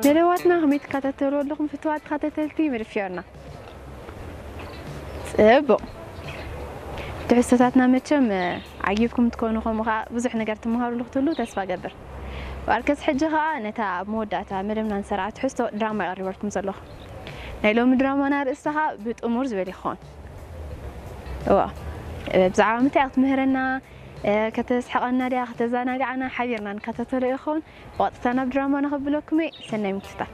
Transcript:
መደባትና ከመይ ትከታተልዎ ኣለኹም ፍትዋት ተኸታተልቲ መደብ ፊዮርና? ጽቡቕ። ትሕዝቶታትና መቸም ዓጊብኩም ትኮኑ፣ ከምኡ ከዓ ብዙሕ ነገር ትመሃሩሉ ክትህሉ ተስፋ ገብር። ዋርከስ ሕጂ ከዓ ነታ ኣብ መወዳእታ መደብና ንሰርዓ ትሕዝቶ ድራማ የቐርበልኩም ዘለኹ። ናይ ሎሚ ድራማና ርእስታ ከዓ ብጥሙር ዝበል ይኸውን። እዋ፣ ብዛዕባ ምንታይ ክትምህረና፣ ከተስሕቐና ድያ ከተዘናግዓና ሓቢርና ንከታተሎ ይኸውን። ብቐጥታ ናብ ድራማ ንኸብለኩም እየ። ሰናይ ምክትታል።